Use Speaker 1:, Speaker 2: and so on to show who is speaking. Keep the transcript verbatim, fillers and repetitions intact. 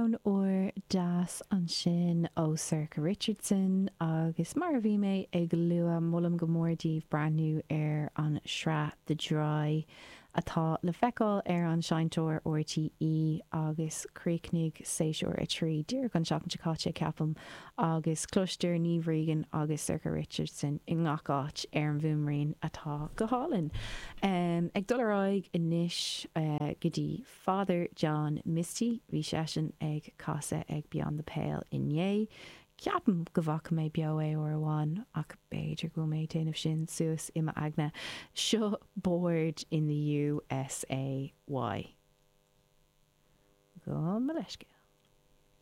Speaker 1: Amhrán úr deas ansin ó Sorcha Richardson agus mar a bhí mé ag lua molaim go mór daoibh breathnú ar an sraith The Dry atá le feiceáil ar an seinnteoir RTÉ agus chríochnaigh séasúr a trí díreach an seachtain seo caite ceapaim agus cloistear Niamh Regan agus Sorcha Richardson i ngach áit ar an bhfuaimrian atá go hálainn. Um, ag dul ar aghaidh anois uh, go dtí Father John Misty bhí seisean ag casadh ag Beyond the Pale inné. Ceapaim go bhfaca mé beo é uair amháin ach b'fhéidir go mé déanamh sin suas i m'aigne seo Bored in the USA Why. Gabh mo leithscéal.